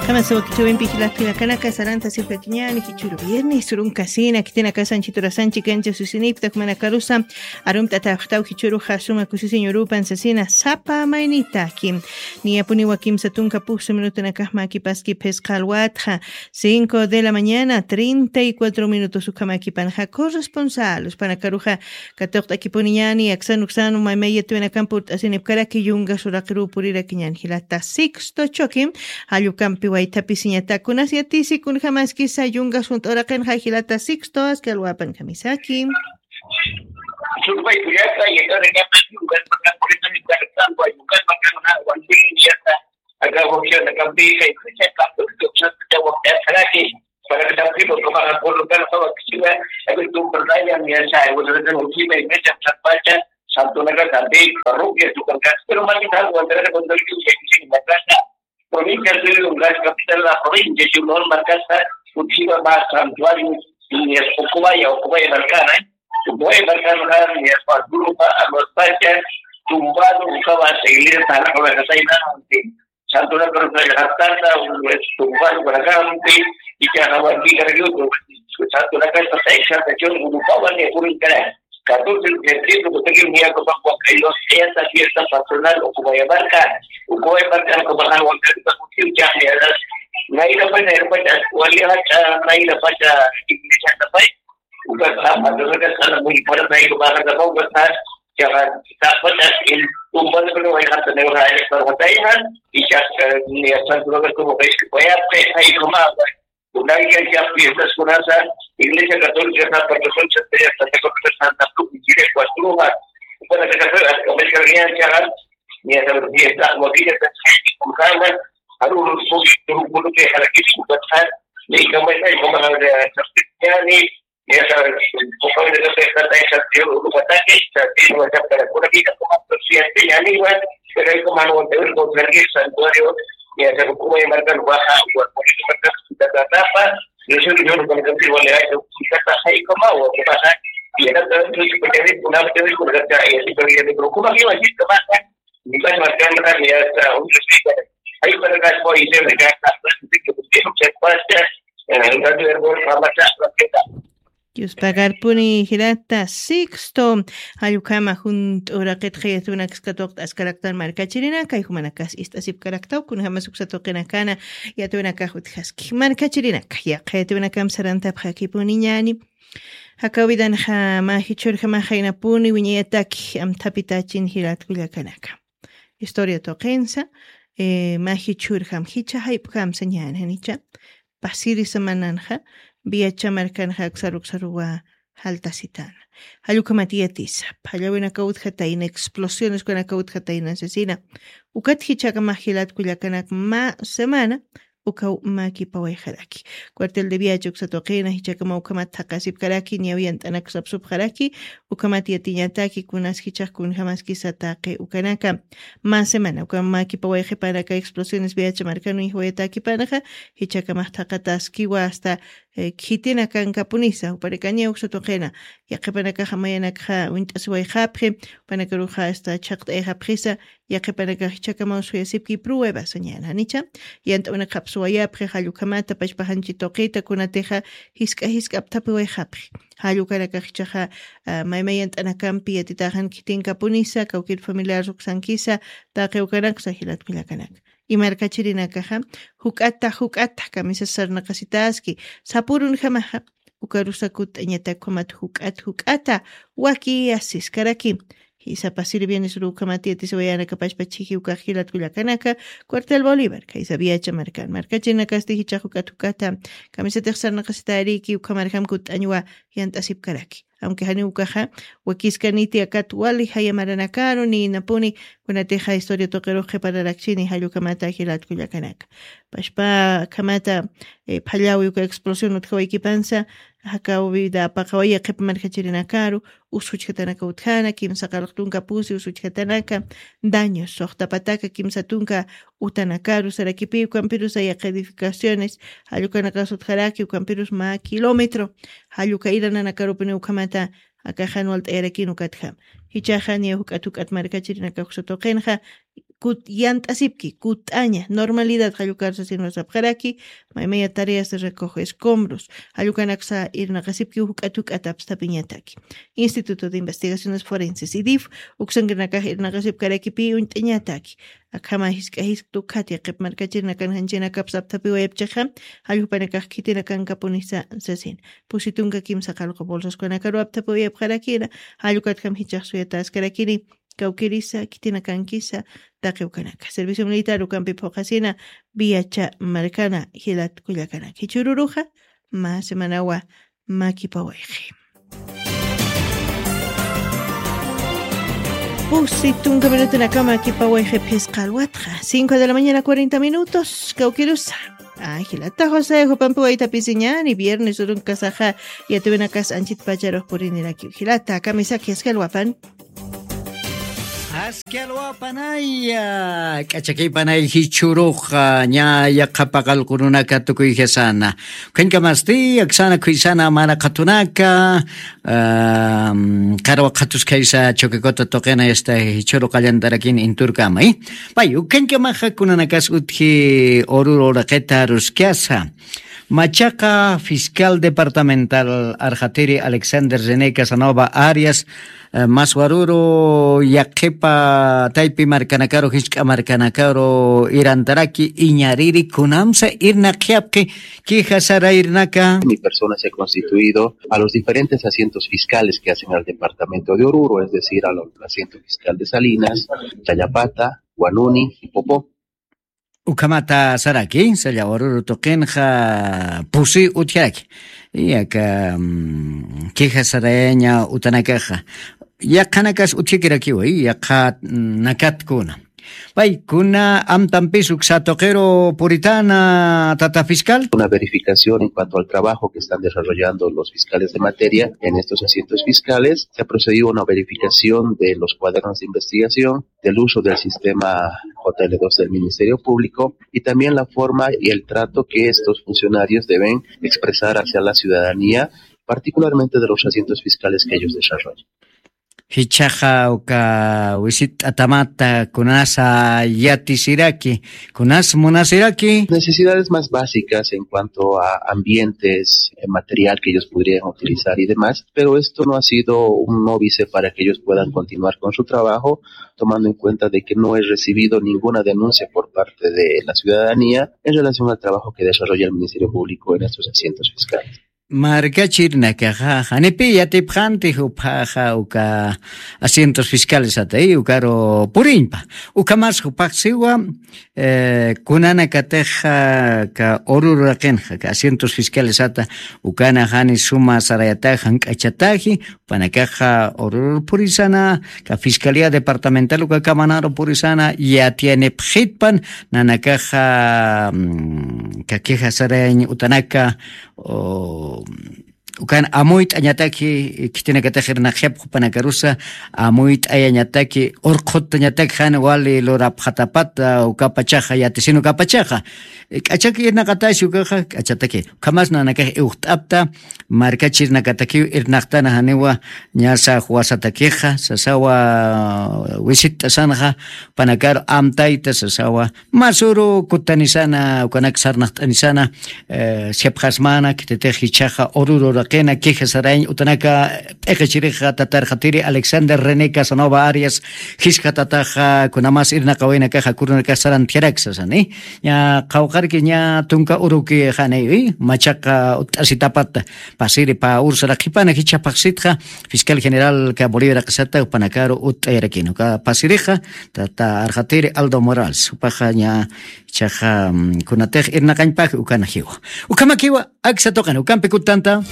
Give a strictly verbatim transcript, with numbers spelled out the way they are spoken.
Kamasawa kichawimpi jilatinakanaka saranta sipkatiñani jichuru viernes runkasina kitinakasan chiturasanchi kancha susinipta jumanakarusa arumt'atawxtaw jichuru jasuma kusisiñurupan sasina sapa maynitaki. Niyapuniwa kimsa tunka pusu minutunakajma kipaski phisqa alwatxa cinco de la mañana treinta y cuatro minutos ukhamakipanxa corresponsal uspanakaruxa katuqt'akipuniñani aksan uksan umaymayatuwinakan purt'asinipkaraki yungas uraqirupurirakiñani jilata sixto choque. Jallukampi waytapisiñatakunas yatisi kunjamaskisa yungas junt'uraqinxa jilata sixto aski alwapan kamisaki. Surpay kuyata yatara kata yungas makan purita mi kata tampa yungas makan na wanpin yata. Aka wajyana kampi kay kucha kampi kucha wajyana saraki. Para que también lo que van a por lo que no estaba activa, a ver tu pantalla mi esa, bueno, de última y mecha pacha, santo na kampi, parroquia tu kankas, pero más que nada cuando era cuando yo que se me pasa. Provincia de Lungas, capital de la provincia, si uno marcasa, última más santuario, y es Ocubaya, Ocubaya Marcana, Ocubaya Marcana, y es Pazulupa, a los pachas, tumbado, buscaba seguir hasta la cabeza, y nada, Santunakarus nayraqartata, tumpar ukanakampis, ichaqa warmikar yutu, Santunakarus tayxata chun urupawan niyakurinkarak. Catorce de septiembre, kutakim niyakupan wakaylos, esta fiesta patronal, Ucubayamarca, Ucubayamarca, Ucubayamarca, Ucubayamarca, Nayra pacha, nayra pacha, wali hacha, nayra pacha, iglesia tapay, ukas tapa, ukas tapa, muy para, nayra pacha, ukas tapa, Chaqa, taqpata, el, tumbado, pero hay gente de una, para batalla, y ya, ni hasta el lugar como ves que voy a, hay como, una guía ya fiestas con esa, Iglesia Católica, San Pedro, San Pedro, Santa Cruz, y Chile, Cuatruja, para que se pueda, como es que había, chaqa, ni hasta los diez, la, como dice, con calma, algunos, un grupo que para que se pueda, ni como es, como la, ni Esa, como le digo, esta taxa de un ataque, esta tiene una temperatura que como siete ya igual, pero hay como algo de un contra el santuario, y esa como de marcar baja, o por ejemplo, la tapa, yo soy yo con el contigo le hay que quitar la hay como o qué pasa, y era todo eso que me quedé con la teoría con la y así pero ya me preocupa que va a decir que pasa, ni va a marcar nada, ni hasta un respeto. Hay para acá, voy a decir, que pasa, Dios pagarpuni jirata sixto. Jallukama junt'u raqitxa yatuwinakskatuqt'askaraktan markachirinaka jumanakas ist'asipkaraktaw kunjamas uksatuqinakana yatuwinakax utjaski markachirinaka yaqha yatuwinakam sarantapxakipuniñani. Jakawidanxa majichurjamaxaynapuni wiñayataki amthapitachin jilatkullakanaka. Historia tuqinsa, majichurjam jicha jayp'kamsa ñananicha. Pasirisa mananxa viacha markanxa aksaruksaruwa jaltasitana. Jallukhamatiyatisa phallawinaka utjatayna explosiones kunaka utjatayna sasina. Ukat jichakamax jilatkullakanak mä semana ukaw makipawayxaraki. Cuartel de viacha uksatuqina jichakama ukhamat thaqasipkaraki ñawiyant'anaksapsupxaraki. Ukhamat yatiñataki kunas jichax kunjamaskisa taqi ukanaka. Mä semana ukamakipawayxipanaka explosiones viacha markanu ijwayatakipanaxa jichakamax thaqataskiwa asta khitinakankapunisa upanakaña uksatuqina. Yaqhipanakaxa mayanakxa wint'asiwayxapxi upanakaruxa asta chhaqt'ayxapxisa. Yaqhipanakax jichakamaw suyasipki prueba sañana nicha. Yant'awinakxapsuwayapxi jallukhamata pachpaxanchi tuqita kunatixa jisk'a jisk'apthapiwayxapxi. Jallukanakax jichaxa maymay yant'anakampi yatitaxan khitinkapunisa kawkir familiar ruksankisa. Taqi ukanaksa jilatkullakanaka. Imarkachirinakaxa juk'ata juk'ata kamisas sarnaqasitaski sapurunjamaxa. Ukarusa kutt'añatakhumat juk'at juk'ata waki asiskaraki. Jisapasiri bienes urukhamat yatisiwayanakapachpa chhiji ukax jilatkullakanaka. Cuartel bolivar khaysa viacha markan markachirinakasti jichax juk'at juk'ata kamisatix sarnaqasitariki ukhamarjam kutt'añwa. Yant'asipkaraki aunque janiw ukaxa wakiskaniti akat wali jaya maranakaru ninapuni. Kunatixa historia tuqirux qhipararakchini jallukamata jilatkullakanaka. Pashpa khamata phallawi uka explosión utjawaykipansa. Jakaw vida apaqawaya qhipa markachirinakaru usjuchkatanaka utjana kimsa qaraq tunka pusi usjuchkatanaka. Daños suxtapataka kimsa tunka utanakaru sarakipi ukampirusa yaqha edificaciones. Jallukanakas utjaraki ukampirus mä kilómetro. Jalluka irananakarupini ukhamata akaxan walt'ayarakini ukatjam. Jichaxa niya juk'at juk'at markachirinaka uksatuqinxa. kut yant'asipki kut'aña normalidad jallukarsasinwa sapxaraki. Maymaya tareas de recoge escombros jallukanaksa irnaqasipki juk'at juk'atapstapiñataki. Instituto de investigaciones forenses idif uksankirinakax irnaqasipkarakipi uñt'añataki. Akhama jisk'a jisktu khat yaqip markachirinakan janchinakapsa apthapiwayapchixa jallupanakax khitinakankapunisa sasin. Pusi tunka kimsa qallqu bolsaskunakaru apthapiwayapxarakina. Jallukatkham jichax suyataskarakini. Kawkirisa khitinakankisa taqiwkanaka servicio militar ukampi phuqasina. Viacha markana jilat kullakanaka jichhururuxa mä semanawa makipawayxi. Pusi tunka minutunakama kipawayxi phisqa alwatxa cinco de la mañana cuarenta minutos kawkirusa. Ay jilata josé jupampi waytapisiñani viernes urunkasaxa. Yatiwinakas anchit pacharux purinirakiw jilata kamisaki askalwapan. Askalwapanaya k'achakipanay jichhuruxa ña yaqhapaqalqurunaka tukuyjasana. Ukhañkamasti aksana khuysana maraqatunaka. Qarwa qhatuskaysa chukikota tuqina yasta jichhuru qallantarakin inturkama. Pay ukhañkamaxa kunanakas utji ururu raqita ruskasa. Machaqa fiscal departamental arxatiri alexander rené casanova arias, maswaruru yaqhipa taypi markanakaru jisk'a markanakaru irantaraki iñariri kunamsa irnaqyapqi. Queja sarayrnaka. Mi persona se ha constituido a los diferentes asientos fiscales que hacen al departamento de oruro, es decir, al asiento fiscal de salinas, chayapata, guanuni y popó. Ukhamata saraki sallawaruru tuqinxa pusi utjaraki. Yaka queja sarayaña utanakaxa yaqhanakas utjakirakiwa yaqha nakatkuna. Paykuna amtampis uksa tuqiru puritana tata fiscal. Una verificación en cuanto al trabajo que están desarrollando los fiscales de materia en estos asientos fiscales. Se ha procedido a una verificación de los cuadernos de investigación, del uso del sistema J L dos del Ministerio Público y también la forma y el trato que estos funcionarios deben expresar hacia la ciudadanía, particularmente de los asientos fiscales que ellos desarrollan. Jichhaxa uka wisit'atamata kunasa yatisiraki kunas munasiraki. Necesidades más básicas en cuanto a ambientes, material que ellos podrían utilizar y demás, pero esto no ha sido un óbice para que ellos puedan continuar con su trabajo, tomando en cuenta de que no he recibido ninguna denuncia por parte de la ciudadanía en relación al trabajo que desarrolla el Ministerio Público en estos asientos fiscales. Markachirnakaxa janipi yatipxanti juphaxa uka asientos fiscales atay ukaru puriñpa. Ukhamas juphaxsiwa kunanakatix ka urururaqinxa ka asientos fiscales ata ukana jani suma sarayatax jank'achataji. Panakaxa ururur purisana ka fiscalía departamental uka kamanaru purisana yatiyanipxitpan nanakaxa ka queja sarayañ utanaka ukan amuyt'añataki khitinakatix irnaqyapxu panakarusa amuyt'ayañataki urqhutañataki jan wali lurapxatapata ukapachaxa yatisin ukapachaxa. K'achaki irnaqatasi ukaxa k'achataki ukhamas nanakax iwxt'apta markachirnakatakiw irnaqtana janiwa ñasa juwasatakixa sasawa wisit'asanxa panakaru amtayta sasawa masuru kutanisana ukanak sarnaqt'anisana. Siapxasmana khititix jichhaxa urururaqina queja sarayañ utanaka p'iqichirixa tatarxatiri alexander rené casanova arias jiskha tataxa kunamas irnaqawinakaxa kurunakax sarantjaraksa sani. Ña qhawqarki ña tunka uruki janiwi machaqa utt'asitapata pasiri pa ursa raqhipana jichhapaxsitxa fiscal general ka bolivia raqisata upanakaru utt'ayarakina uka pasirixa tata arxatiri aldo morales upaxa ña jichhaxa kunatix irnaqañpaji ukanajiwa. Ukhamakiwa aksa tuqina ukampi kutanta.